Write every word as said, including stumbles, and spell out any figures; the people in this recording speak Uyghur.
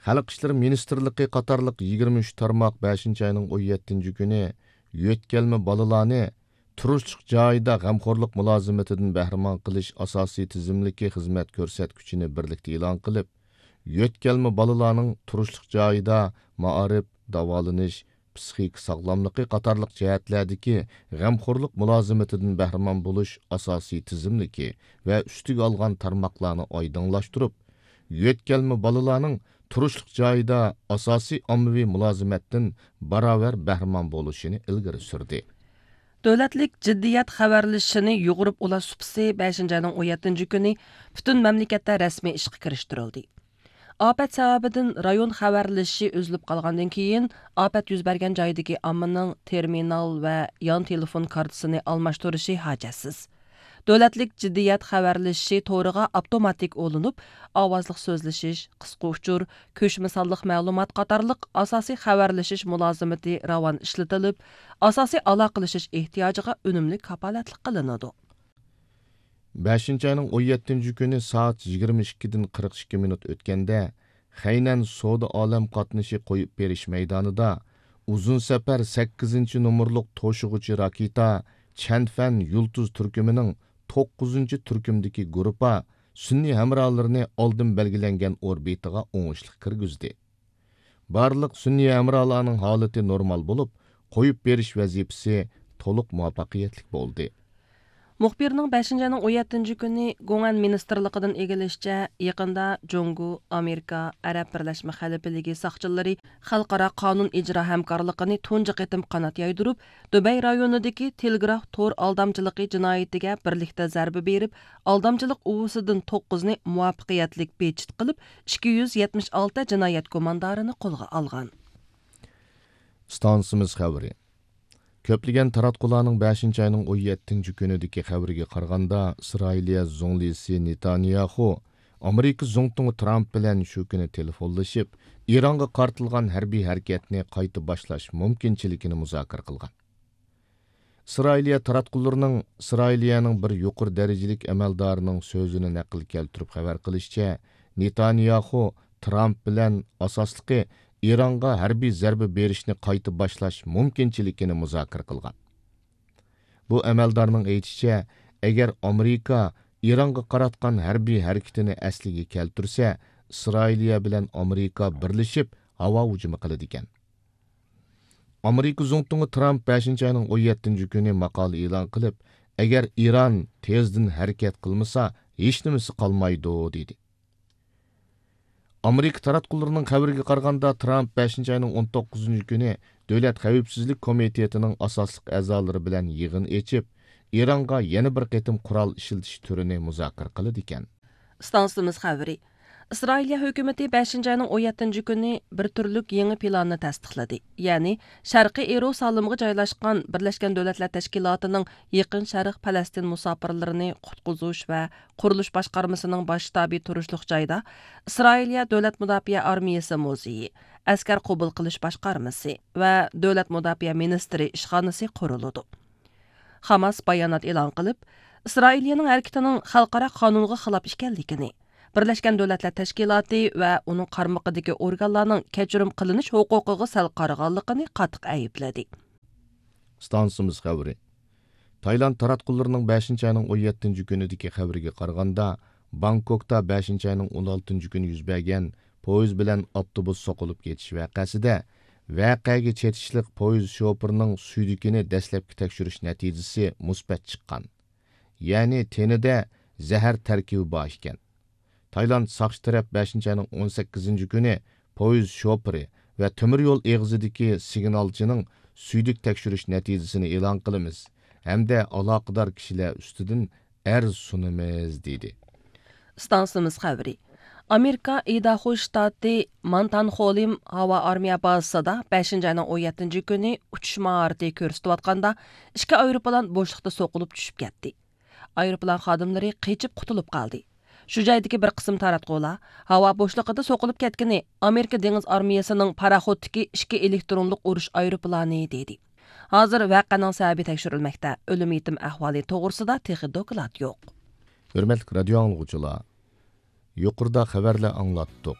خەلق ئىشلىرى مىنىستىرلىقى قاتارلىق يىگىرمە ئۈچ تارماق بەشىنچى ئاينىڭ ئون يەتتىنچى كۈنى يۆتكەلمە بالىلارنى تۇرۇشلۇق جايىدا غەمخورلۇق مۇلازىمىتىدىن بەھرىمەن قىلىش ئاساسىي تىزىملىكى خىزمەت كۆرسەتكۈچىنى بىرلىكتە ئېلان قىلىپ، يۆتكەلمە بالىلارنىڭ تۇرۇشلۇق جايىدا مائارىپ، داۋالىنىش، پسىخىكا ساغلاملىقى قاتارلىق جەھەتلەردىكى غەمخورلۇق مۇلازىمىتىدىن بەھرىمەن بولۇش ئاساسىي تىزىملىكى ۋە ئۈستىگە ئالغان تارماقلارنى ئايدىڭلاشتۇرۇپ، يۆتكەلمە بالىلارنىڭ تۇرۇشلۇق جايىدا ئاساسىي ئاممىۋى مۇلازىمەتتىن باراۋەر بەھرىمەن بولۇشىنى ئىلگىرى سۈردى. دۆلەتلىك جىددىيەت خەۋەرلىشىشىنى يۇغۇرۇپ ئۇلاش سۇپىسى بەشىنچى ئاينىڭ ئون يەتتىنچى كۈنى پۈتۈن مەملىكەتتە رەسمىي ئىشقا كىرىشتۈرۈلدى. ئاپەت سەۋەبىدىن رايون خەۋەرلىشىشى ئۈزۈلۈپ قالغاندىن كېيىن، ئاپەت يۈز بەرگەن جايدىكى ئاممىنىڭ تېرمىنال ۋە يان تېلېفون كارتىسىنى ئالماشتۇرۇشى ھاجەتسىز. دۆلەتلىك جىددىيەت خەۋەرلىشىشى تورىغا ئاپتوماتىك ئۇلىنىپ، ئاۋازلىق سۆزلىشىش، قىسقا ئۇچۇر، كۆچمە سانلىق مەلۇمات قاتارلىق ئاساسىي خەۋەرلىشىش مۇلازىمىتى راۋان ئىشلىتىلىپ، ئاساسىي ئالاقىلىشىش ئېھتىياجىغا ئۈنۈملۈك كاپالەتلىك قىلىنىدۇ. بەشىنچى ئاينىڭ ئون يەتتىنچى كۈنى سائەت يىگىرمە ئىككىدىن قىرىق ئىككى مىنۇت ئۆتكەندە، خەينەن سودا ئالەم قاتنىشى قويۇپ بېرىش مەيدانىدا ئۇزۇن سەپەر سەككىزىنچى نومۇرلۇق توشۇغۇچى راكېتا چەنفەن يۇلتۇز تۈركۈمىنىڭ توققۇزىنچى تۈركۈمدىكى گۇرۇپپا سۈنئىي ھەمراھلىرىنى ئالدىن بەلگىلەنگەن ئوربىتىغا ئوڭۇشلۇق كىرگۈزدى. بارلىق سۈنئىي ھەمراھلارنىڭ ھالىتى نورمال بولۇپ، قويۇپ بېرىش ۋەزىپىسى تولۇق مۇۋەپپەقىيەتلىك بولدى. مۇخبىرنىڭ بەشىنچى ئاينىڭ ئون يەتتىنچى كۈنى گوڭئەن مىنىستىرلىقىدىن ئىگىلىشىچە، يېقىندا جۇڭگو، ئامېرىكا، ئەرەب بىرلەشمە خەلىپىلىكى ساقچىلىرى خەلقئارا قانۇن ئىجرا ھەمكارلىقىنى تۇنجى قېتىم قانات يايدۇرۇپ، دۇبەي رايونىدىكى تېلېگراف تور ئالدامچىلىقى جىنايىتىگە بىرلىكتە زەربە بېرىپ، ئالدامچىلىق ئۇۋىسىدىن توققۇزنى مۇۋەپپەقىيەتلىك بىچىت قىلىپ، ئىككى يۈز يەتمىش ئالتە جىنايەت گۇماندارىنى قولغا ئالغان. ئىستانسىمىز خەۋىرى. كۆپلىگەن تاراتقۇلارنىڭ بەشىنچى ئاينىڭ ئون يەتتىنچى كۈنىدىكى خەۋىرىگە قارىغاندا، ئىسرائىلىيە زۇڭلىسى نېتانياخۇ ئامېرىكا زۇڭتۇڭى ترامپ بىلەن شۇ كۈنى تېلېفونلىشىپ، ئىرانغا قارىتىلغان ھەربىي ھەرىكەتنى قايتا باشلاش مۇمكىنچىلىكىنى مۇزاكىرە قىلغان. ئىسرائىلىيە تاراتقۇلىرىنىڭ ئىسرائىلىيەنىڭ بىر يۇقىرى دەرىجىلىك ئەمەلدارىنىڭ سۆزىنى نەقىل كەلتۈرۈپ خەۋەر قىلىشىچە، نېتانياخۇ ترامپ بىلەن ئاساسلىقى ئىرانغا ھەربىي زەربە بېرىشنى قايتا باشلاش مۇمكىنچىلىكىنى مۇزاكىرە قىلغان. بۇ ئەمەلدارنىڭ ئېيتىشىچە، ئەگەر ئامېرىكا ئىرانغا قاراتقان ھەربىي ھەرىكىتىنى ئەسلىگە كەلتۈرسە، ئىسرائىلىيە بىلەن ئامېرىكا بىرلىشىپ ھاۋا ھۇجۇمى قىلىدىكەن. ئامېرىكا زۇڭتۇڭى ترامپ بەشىنچى ئاينىڭ ئون يەتتىنچى كۈنى ماقالە ئېلان قىلىپ، ئەگەر ئىران تېزدىن ھەرىكەت قىلمىسا، ھېچنېمىسى قالمايدۇ، دېدى. ئامېرىكا تاراتقۇلىرىنىڭ خەۋىرىگە قارىغاندا، ترامپ بەشىنچى ئاينىڭ ئون توققۇزىنچى كۈنى دۆلەت خەۋپسىزلىك كومىتېتىنىڭ ئاساسلىق ئەزالىرى بىلەن يىغىن ئېچىپ، ئىرانغا يەنە بىر قېتىم قورال ئىشلىتىش تۈرىنى مۇزاكىرە قىلىدىكەن. ئىستانسىمىز خەۋىرى. ئىسرائىلىيە ھۆكۈمىتى بەشىنچى ئاينىڭ ئون يەتتىنچى كۈنى بىر تۈرلۈك يېڭى پىلاننى تەستىقلىدى. يەنى، شەرقىي ئىيېرۇسالىمغا جايلاشقان بىرلەشكەن دۆلەتلەر تەشكىلاتىنىڭ يېقىن شەرق پەلەستىن مۇساپىرلىرىنى قۇتقۇزۇش ۋە قۇرۇلۇش باشقارمىسىنىڭ باش شتابى تۇرۇشلۇق جايدا ئىسرائىلىيە دۆلەت مۇداپىئە ئارمىيىسى مۇزېيى، ئەسكەر قوبۇل قىلىش باشقارمىسى ۋە دۆلەت مۇداپىئە مىنىستىرى ئىشخانىسى قۇرۇلىدۇ. خاماس بايانات ئېلان قىلىپ، ئىسرائىلىيەنىڭ ھەرىكىتىنىڭ خەلقئارا قانۇنغا خىلاپ ئىكەنلىكىنى، بىرلەشكەن دۆلەتلەر تەشكىلاتى ۋە ئۇنىڭ قارمىقىدىكى ئورگانلارنىڭ كەچۈرۈم قىلىنىش ھوقۇقىغا سەل قارىغانلىقىنى قاتتىق ئەيىبلىدى. ئىستانسىمىز خەۋىرى. تايلاند تاراتقۇلىرىنىڭ بەشىنچى ئاينىڭ ئون يەتتىنچى كۈنىدىكى خەۋىرىگە قارىغاندا، بانكوكتا بەشىنچى ئاينىڭ ئون ئالتىنچى كۈنى يۈز بەرگەن پويىز بىلەن ئاپتوبۇس سوقۇلۇپ كېتىش ۋەقەسىدە، ۋەقەگە چېتىشلىق پويىز شوپۇرىنىڭ سۈيدۈكىنى دەسلەپكى تەكشۈرۈش نەتىجىسى مۇسبەت چىققان. يەنى تېنىدە زەھەر تەركىبى بار ئىكەن. تايلاند ساقچى تەرەپ بەشىنچى ئاينىڭ ئون سەككىزىنچى كۈنى پويىز شوپۇرى ۋە تۆمۈر يول ئېغىزىدىكى سىگنالچىنىڭ سۈيدۈك تەكشۈرۈش نەتىجىسىنى ئېلان قىلىمىز ھەمدە ئالاقىدار كىشىلەر ئۈستىدىن ئەرز سۇنىمىز، دېدى. ئىستانسىمىز خەۋىرى. ئامېرىكا ئىداھو شتاتى مانتانخولىم ھاۋا ئارمىيە بازىسىدا بەشىنچى ئاينىڭ ئون يەتتىنچى كۈنى ئۇچۇش ماھارىتى كۆرسىتىۋاتقاندا، ئىككى ئايروپىلان بوشلۇقتا سوقۇلۇپ چۈشۈپ كەتتى. ئايروپىلان خادىملىرى قېچىپ قۇتۇلۇپ قالدى. شۇ جايدىكى بىر قىسىم تاراتقۇلار ھاۋا بوشلۇقىدا سوقۇلۇپ كەتكىنى ئامېرىكا دېڭىز ئارمىيەسىنىڭ پاراخوتتىكى ئىككى ئېلېكترونلۇق ئۇرۇش ئايروپىلانى، دېدى. ھازىر ۋەقەنىڭ سەۋەبى تەكشۈرۈلمەكتە، ئۆلۈم يېتىم ئەھۋالى توغرىسىدا تېخى دوكلات يوق. ھۆرمەتلىك رادىيو ئاڭلىغۇچىلار، يۇقىرىدا خەۋەرلەر ئاڭلاتتۇق.